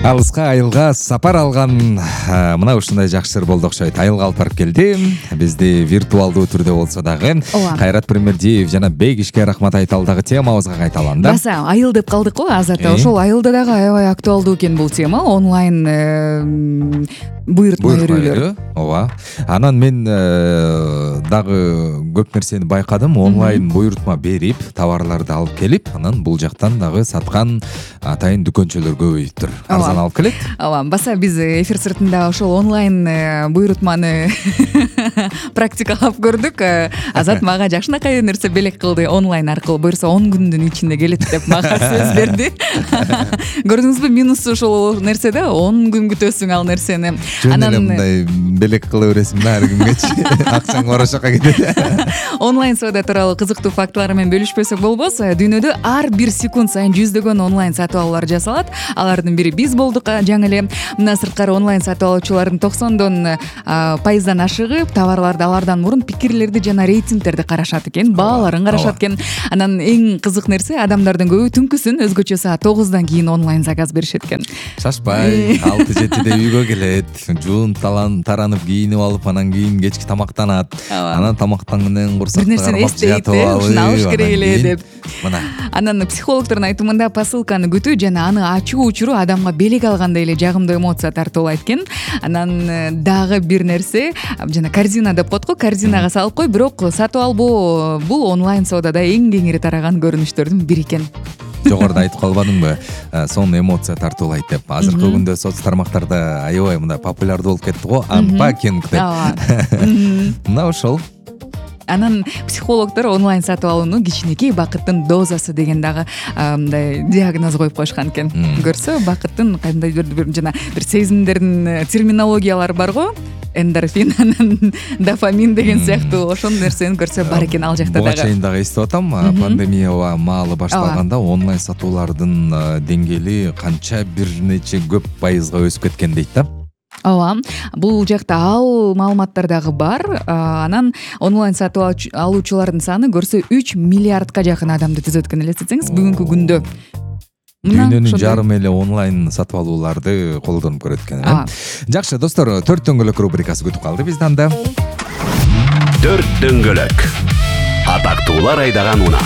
Алыска айылга сапар алган мына ушундай жакшы болду окшойт. Айылга алып барып келди. Бизди виртуалдуу түрдө болсо дагы Кайрат Пирмердиев жана Бейгишке рахмат айталы дагы темабызга кайталам да. Баса айыл деп калдык го азырда. Ошол айылда дагы аябай актуалдуу экен бул тема. Онлайн буйрутма берүүлөр. Ооба. Анан мен дагы көп нерсени байкадым. Онлайн буйрутма берип, товарларды алып келип, анан бул жактан дагы саткан атайын дүкөнчөлөр көбөйүптүр. Арзан алып келет. Ооба, баса биз эфир сыртында ошол онлайн буйрутманы практикалап көрдүк. Азат мага жакшынакай нерсе белек кылды. Онлайн аркылуу буйрса 10 күндүн ичинде келет деп мага сөз берди. Көрдүңүзбү, минусу ошол нерседе 10 күн күтөсүң ал нерсени. Анан мындай белек кыла бересиң да ар күнгөчү. Акчаң орошокко кетет. Онлайн соода тууралуу кызыктуу фактылар менен бөлүшпөсөк болбос. Дүйнөдө ар бир секунд сайын жүздөгөн онлайн сатып алуулар жасалат. Алардын бири биз болдук жаңы эле. Мына сырткары онлайн сатып алуучулардын 90% ашыгы товарларды алардан мурун пикирлерди жана рейтингтерди карашат экен, бааларын карашат экен. Анан эң кызык нерсе, адамдардын көбү түнкүсүн өзгөчө саат 9-дан кийин онлайн заказ беришет экен. Шашпай 6-7де үйгө келет, жуунуп таранып кийинип алып, анан кийин кечки тамактанат. Анан тамактангандан курсак кармап жатып алып, ушуну алыш керек эле деп. Мына. Анан психологдордун айтымында посылканы күтүү жана аны ачуу учуру адамга белек алгандай эле жагымдуу эмоция тартуулайт экен. Анан дагы бир нерсе, жана корзина деп коет го, корзинага салып кой, бирок сатып албоо бул онлайн соодада эң кеңири тараган көрүнүштөрдүн бири экен. Жогоруда айтып калбадыңбы? Сонун эмоция тартуулайт деп. Азыркы күндө соц тармактарда аябай мындай популярдуу болуп кетти го, анпакинг деп. Мына ошол. Анан психологдор онлайн сатып алууну кичинекей бакыттын дозасы деген дагы мындай диагноз коюп коюшкан экен. Көрсө, бакыттын кандайдыр жана бир сезимдердин терминологиялары бар го. Эндорфин, анан дофамин деген сыяктуу ошол нерсени көрсө бар экен ал жакта дагы. Буга чейин дагы эстеп атам, пандемия маалы башталганда онлайн сатуулардын деңгээли канча бир нече көп пайызга өсүп кеткен дейт да. Ооба, бул жакта ал маалыматтар дагы бар. Анан онлайн сатып алуучулардын саны көрсө 3 миллиардка жакын адамды түзөт экен, элестетсеңиз, бүгүнкү күндө. Дүйнөнүн жарым эле онлайн сатып алууларды колдонуп көрөт экен. Жакшы достор, 4 дөңгөлөк рубрикасы күтүп калды бизден да. 4 дөңгөлөк. Атактуулар айдаган унаа.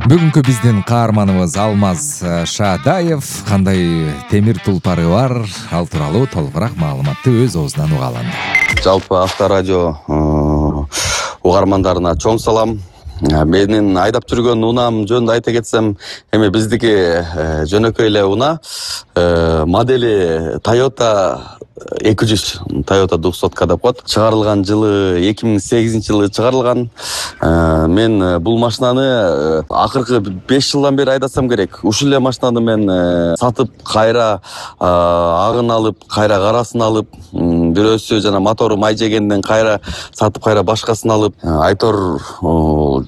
Бүгүнкү биздин каарманыбыз Алмаз Шаадаев кандай темир тулпары бар, ал тууралуу толугураак маалыматты өз оозунан угалы. Жалпы Авторадио угармандарына чоң салам. Менин айдап жүргөн унаам жөнүндө айта кетсем, эми биздики жөнөкөй эле унаа, модели Toyota 200, Toyota 200 деп коет. Чыгарылган жылы 2008-жылы чыгарылган. Мен бул машинаны акыркы 5 жылдан бери айдасам керек. Ушул эле машинаны мен сатып, кайра агын алып, кайра карасын алып, бирөөсү жана мотору май жегенден кайра сатып, кайра башкасын алып, айтор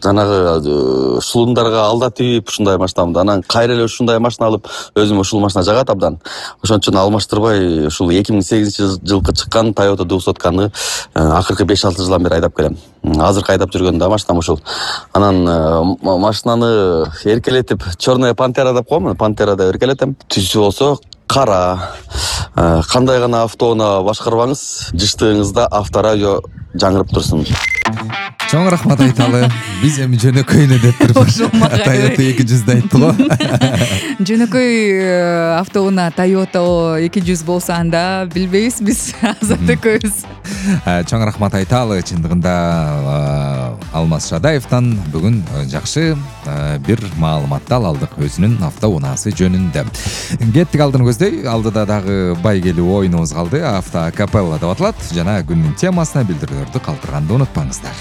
жанагы шулундарга алда тийип ушундай машинамды, анан кайра эле ушундай машина алып, өзүм ушул машина жагат абдан. Ошон үчүн алмаштырбай ушул 2008-жылкы чыккан Toyota 200-каны акыркы 5-6 жылдан бери айдап келем. Азыркы айдап жүргөн да машинам ушул. Анан машинаны эркелетип, черная пантера деп коем, пантерада эркелетем. Түсү болсо кара. Кандай гана автоунаа башкарбаңыз, жыштыгыңызда Авторадио жаңырып турсун. Чоң рахмат айталы. Биз эми жөнөкөйүнө деп турбуз. Toyota 200 айтты го. Жөнөкөй автоунаа Toyota 200 болсо анда билбейбиз биз Азат экөөбүз. Чоң рахмат айталы. Чындыгында Алмаз Шаадаевтан бүгүн жакшы бир маалыматты алдык өзүнүн автоунаасы жөнүндө. Кеттик алдын көздөй, алдыда дагы байгелүү оюнубуз калды. Автокапелла деп аталат жана күндүн темасына билдирүүлөрдү калтырганды унутпаңыздар.